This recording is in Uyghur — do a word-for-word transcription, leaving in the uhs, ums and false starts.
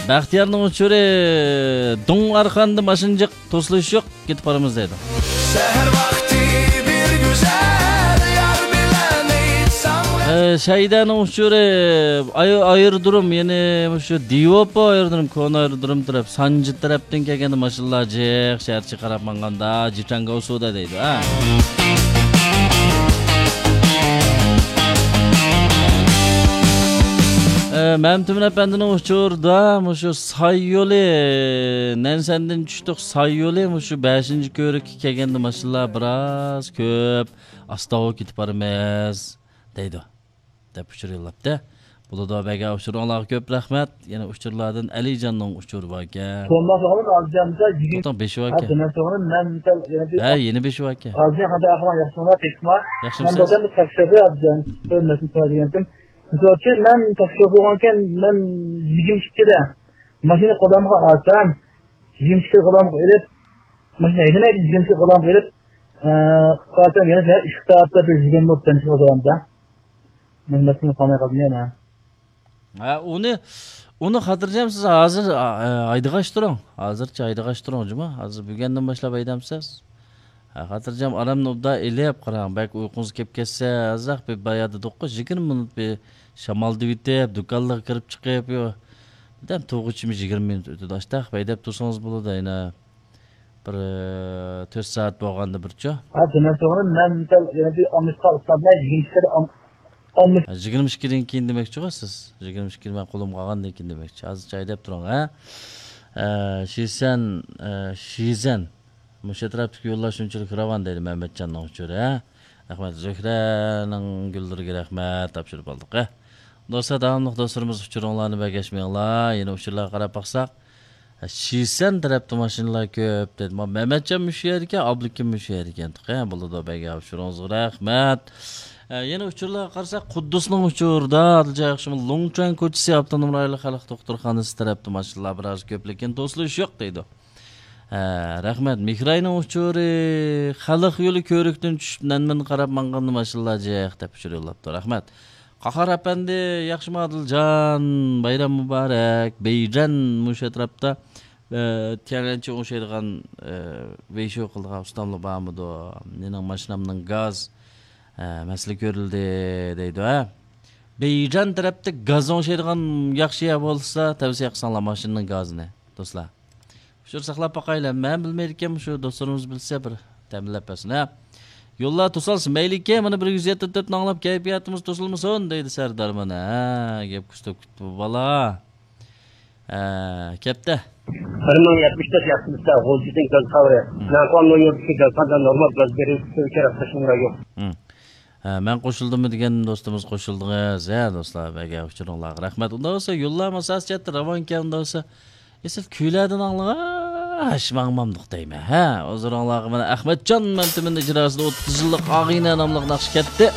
بەختىيارنىڭ ئۇچۇرى، دۇڭ ئارقاندا ماشىنا جىق، توسۇلۇش يوق، كېتىپ بارىمىز دەيدۇ. سەھەر ۋاقتى بىر گۈزەل يار بىلەن ئېيتساڭ. ئە، شەيدانىڭ ئۇچۇرى، ئاي-، ئايرودروم، يەنى مۇشۇ دىۋوپو ئايرودروم، كونا ئايرودروم تەرەپ، سانجى تەرەپتىن كەلگەندە ماشىنىلار جىق، شەھەرچە قاراپ ماڭغاندا، جىچاڭگا ئۇسۇدا دەيدۇ، ھە. ئە، مەمتىمىن ئەپەندىنىڭ ئۇچۇرىدا مۇشۇ ساي يولى، نەنسەندىن چۈشتۇق، ساي يولى، مۇشۇ بەشىنچى كۆۋرۈككە كەلگەندە ماشىنىلار بىراز كۆپ، ئاستاۋۇ كېتىپ بارىمىز، دەيدۇ، دەپ ئۇچۇر يوللاپتۇ. بولىدۇ، بەگە ئۇچۇرۇڭلارغا كۆپ رەھمەت. يەنە ئۇچۇرلاردىن ئەلىجاننىڭ ئۇچۇرى باركەن. سومبا سوغۇن ئالجاندا يىگىرمە. توتاڭ بېشى باركەن. ھە، دېمە سوغۇن مەن مىسال يەنە بىر ھە، يەنە بېشى باركەن. ئالجان خاتا ئەخۋان ياخشىمۇ، تېخىما؟ ياخشىمۇ مەن سىز؟ بولسام بىر تەكشۈرۈپ ئالجان. ھۆرمەتلىك سۆزلىگەنتىم. مىسال ئۈچۈن مەن تەكشۈرۈپ بولغانكەن، مەن يىگىرمە ئىككىدە ماشىنا قولامغا ئالسام، يىگىرمە ئىككى قولامغا ئېلىپ، ماشىنا ھەيدىمەيدۇ، يىگىرمە ئىككى قولامغا ئېلىپ، ئە، قارىسام يەنە ئىككى سائەتتە بىر يىگىرمە بولۇپ تەنتىش قىلىدىغاندا. مەن مەسىلىنى قالماي قالدىم يەنە. ھە، ئۇنى، ئۇنى خاتىرجەم سىز ھازىر، ئە، ھەيدىغاچ تۇرۇڭ. ھازىرچە ھەيدىغاچ تۇرۇڭ، جۇما. ھازىر بۈگۈندىن باشلاپ ھەيدەمسىز؟ ھە، خاتىرجەم ئارامنى ئوبدان ئېلىپ قاراڭ. بەك ئۇيقۇڭىز كېلىپ كەتسە، ئازراق بىر بايا دېدۇققۇ، يىگىرمە مىنۇت بىر شامال دېۋىتىپ، دۇكانلارغا كىرىپ چىقىپ، يو. دەم تۇغۇچىمۇ يىگىرمە مىنۇت ئۆتىدۇ. ئاشتاق ھەيدەپ تۇرسىڭىز بولىدۇ، يەنە بىر، ئە، تۆت سائەت بولغاندا بىرچۇ. ھە، دېمەك توغرا. مەن مىسال يەنە بىر ئالمىشقا ئۇسلابلا يىگىرمە ئىككىدە ئالم-، ئالمىش. ھە، يىگىرمە ئىككىدىن كېيىن دېمەكچىغۇ سىز. يىگىرمە ئىككىنى مەن قولۇمغا ئالغاندىن كېيىن دېمەكچى. ھازىرچە ھەيدەپ تۇرۇڭ، ھە. ئە، شىسەن، ئە، شىزەن. مۇشۇ ئەتراپتىكى يوللار شۇنچىلىك راۋان دەيدۇ مەمەتجاننىڭ ئۇچۇرى، ھە؟ رەھمەت، زۆھرەنىڭ گۈللىرىگە رەھمەت، تاپشۇرۇپ ئالدۇق، ھە؟ دوستلار، داۋاملىق دوستلىرىمىز ئۇچۇرۇڭلارنى بەرگەچمەڭلار. يەنە ئۇچۇرلارغا قاراپ باقساق، شىسەن تەرەپتە ماشىنىلار كۆپ دېدى. ما-، مەمەتجان مۇشۇ يەردىكەن، ئابلىكىم مۇشۇ يەردىكەن. ھە، بولىدۇ، بەرگەن ئۇچۇرىڭىزغا رەھمەت. ھە، يەنە ئۇچۇرلارغا قارىساق، قۇددۇسنىڭ ئۇچۇرىدا، ئادىلجان ياخشىمۇ، لۇڭچۈەن كوچىسى ئاپتونوم رايونلۇق خەلق دوختۇرخانىسى تەرەپتە ماشىنىلار بىراز كۆپلىكىن، توسۇلۇش يوق دەيدۇ. ھە، رەھمەت. مىخراينىڭ ئۇچۇرى، خەلق يولى كۆۋرۈكتىن چۈشۈپ، نەنمەن قاراپ ماڭغاندا ماشىنىلار جىق دەپ ئۇچۇر يوللاپتۇ. رەھمەت. قاھار ئەپەندى، ياخشىمۇ ئادىلجان؟ بايرام مۇبارەك. بېيجەن مۇشۇ ئەتراپتا، ئە، تيەنئەنچىگە ئوخشايدىغان، ئە، ۋېيشۇ قىلىدىغان ئۇستاملا بارمىدۇ؟ مېنىڭ ماشىنامنىڭ گاز، ئە، مەسىلە كۆرۈلدى دەيدۇ، ھە؟ بېيجەن تەرەپتە گاز ئوڭشايدىغان ياخشى يەر بولسا، تەۋسىيە قىلساڭلار ماشىنىنىڭ گازىنى، دوستلار. ئۇچۇر ساقلاپ باقايلى. مەن بىلمەيدىكەن، مۇشۇ دوستلىرىمىز بىلسە بىر تەمىنلەپ بەرسۇن، ھە. يوللار توسالسا مەيلىكەن، مانا بىر يۈز يەتتە تۆتنى ئاڭلاپ كەيپىياتىمىز توسۇلمىسۇن دەيدۇ سەردار مانا. ھە، گەپ كۈستەپ كېتىپتۇ بالا. ھە، كەپتە. بىر مىڭ يەتمىش تۆت ياقتىمىزدا غۇلجىدىن گاز قاۋرى. مم. ناقۇۋان نويۇردىكى گازخانىدا نورمال گاز بېرىش ئۈچۈن كېرەك قوشۇملار يوق. مم. ھە، مەن قوشۇلدىممۇ دېگەن دوستىمىز قوشۇلدىڭىز. ھە، دوستلار، بەگە ئۇچۇرۇڭلارغا رەھمەت. ئۇنداق بولسا، يوللار ماساسى جەھەتتە راۋانكەن، ئۇنداق بولسا، ئېسىل كۈيلەردىن ئاڭلىغاچ ماڭمامدۇق دەيمەن. ھە، ھۇزۇرۇڭلارغا مانا ئەخمەتجان مەمتىمىن ئىجراسىدا ئوتتۇز يىللىق ئاغىنە ناملىق ناخشا كەتتى.